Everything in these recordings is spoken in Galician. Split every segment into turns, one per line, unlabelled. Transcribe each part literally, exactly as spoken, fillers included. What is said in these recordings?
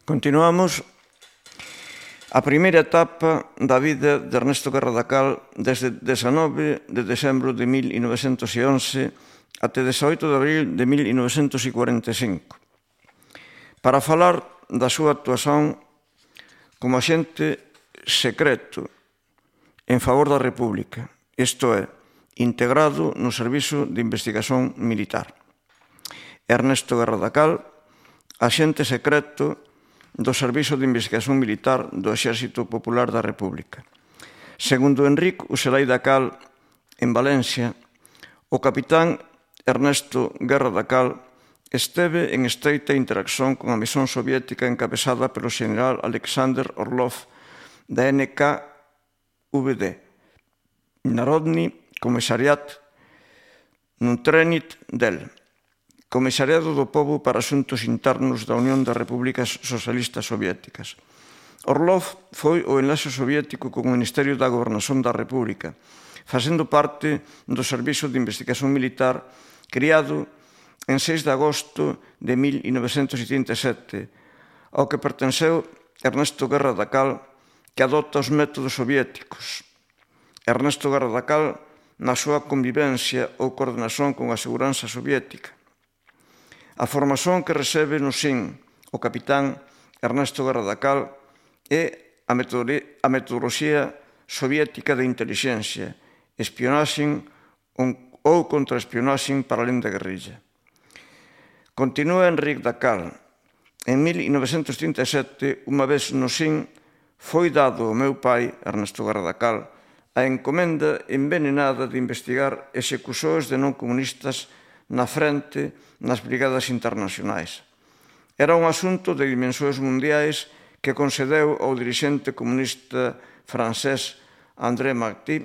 Continuamos a primeira etapa da vida de Ernesto Guerra da Cal desde dezanove de decembro de mil novecentos e once até dezaoito de abril de mil novecentos e cuarenta e cinco, para falar da súa actuación como axente secreto en favor da República, isto é, integrado no Servizo de Investigación Militar. Ernesto Guerra da Cal, axente secreto do Servizo de Investigación Militar do Exército Popular da República. Segundo Enric Uselai da Cal, en Valencia, o capitán Ernesto Guerra da Cal esteve en estreita interacción con a misión soviética encabezada pelo xeneral Alexander Orlov da N K V D, Narodny Komissariat Nuntrenit del, Comissariado do Pobo para Asuntos Internos da Unión das Repúblicas Socialistas Soviéticas. Orlov foi o enlace soviético co Ministerio da Gobernación da República, facendo parte do Servizo de Investigación Militar criado en seis de agosto de mil novecentos setenta e sete, ao que pertenceu Ernesto Guerra da Cal, que adopta os métodos soviéticos. Ernesto Guerra da Cal na súa convivencia ou coordenación con a seguranza soviética. A formación que recebe no S I N o capitán Ernesto Guerra da Cal é a metodoloxía soviética de intelixencia, espionaxe ou contraespionaxe para alén da guerrilla. Continúa Enric da Cal. En mil novecentos trinta e sete, unha vez no S I N, foi dado ao meu pai, Ernesto Guerra da Cal, a encomenda envenenada de investigar execuções de non comunistas na frente nas brigadas internacionais. Era un asunto de dimensões mundiais que concedeu ao dirixente comunista francés André Marty,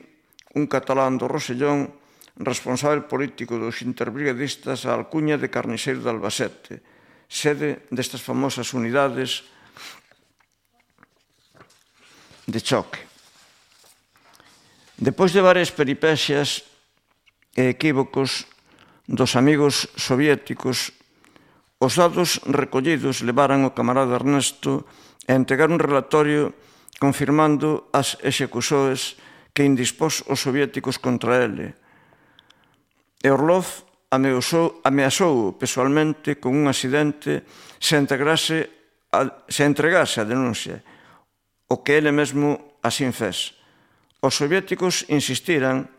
un catalán do Rosellón, responsável político dos interbrigadistas, a alcuña de Carniceiro de Albacete, sede destas famosas unidades de choque. Depois de varias peripecias e equívocos dos amigos soviéticos, os dados recollidos levaran o camarada Ernesto a entregar un relatorio confirmando as execuções que indispós os soviéticos contra ele. E Orlov ameazou, ameazou pessoalmente con un accidente se entregase a, se entregase a denuncia, o que ele mesmo así fez. Os soviéticos insistiran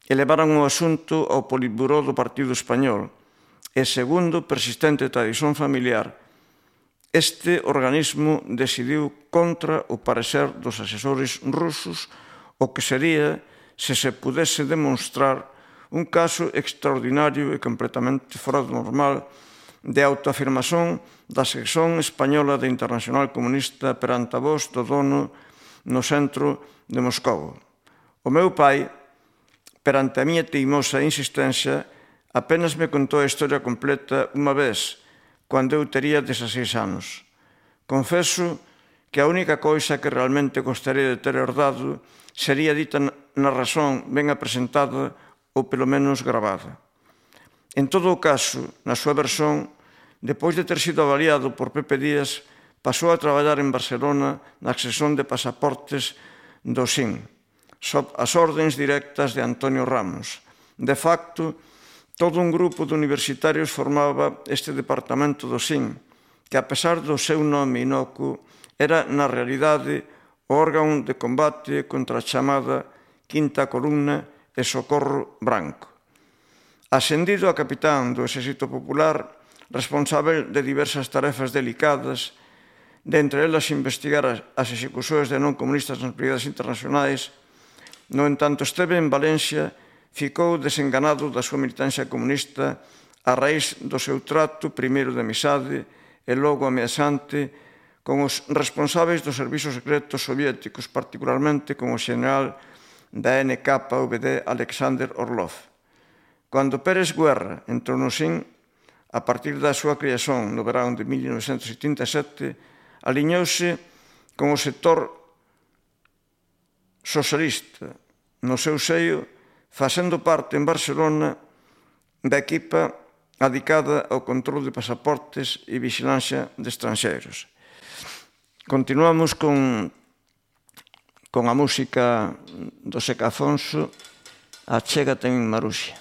e levaran o asunto ao Politburó do Partido Español e, segundo persistente tradición familiar, este organismo decidiu contra o parecer dos asesores rusos o que sería se se pudese demonstrar un caso extraordinario e completamente fora do normal de autoafirmación da sección española da Internacional Comunista perante a voz do dono no centro de Moscou. O meu pai, perante a miña teimosa insistencia, apenas me contou a historia completa unha vez, cando eu tería dezaseis anos. Confeso que a única coisa que realmente gostaría de ter herdado sería dita na razón ben apresentada ou pelo menos gravada. En todo o caso, na súa versión, depois de ter sido avaliado por Pepe Díaz, pasou a traballar en Barcelona na sección de pasaportes do S I N, sob as ordens directas de Antonio Ramos. De facto, todo un grupo de universitarios formaba este departamento do S I N, que, a pesar do seu nome inocuo, era, na realidade, o órgano de combate contra a chamada Quinta Columna e Socorro Branco. Ascendido a capitán do Exército Popular, responsável de diversas tarefas delicadas, de entre elas investigar as execuções de non comunistas nas brigadas internacionais, no entanto esteve en Valencia, ficou desenganado da súa militancia comunista a raíz do seu trato primeiro de amizade e logo ameazante con os responsáveis dos servizos secretos soviéticos, particularmente con o xeneral da N K V D Alexander Orlov. Cando Pérez Guerra entrou no S I N, a partir da súa creación no verán de mil novecentos setenta e sete, aliñouse con o sector socialista no seu seio, facendo parte en Barcelona da equipa adicada ao control de pasaportes e vigilancia de estranxeiros. Continuamos con, con a música do Seca Afonso, Achégate en Maruxa.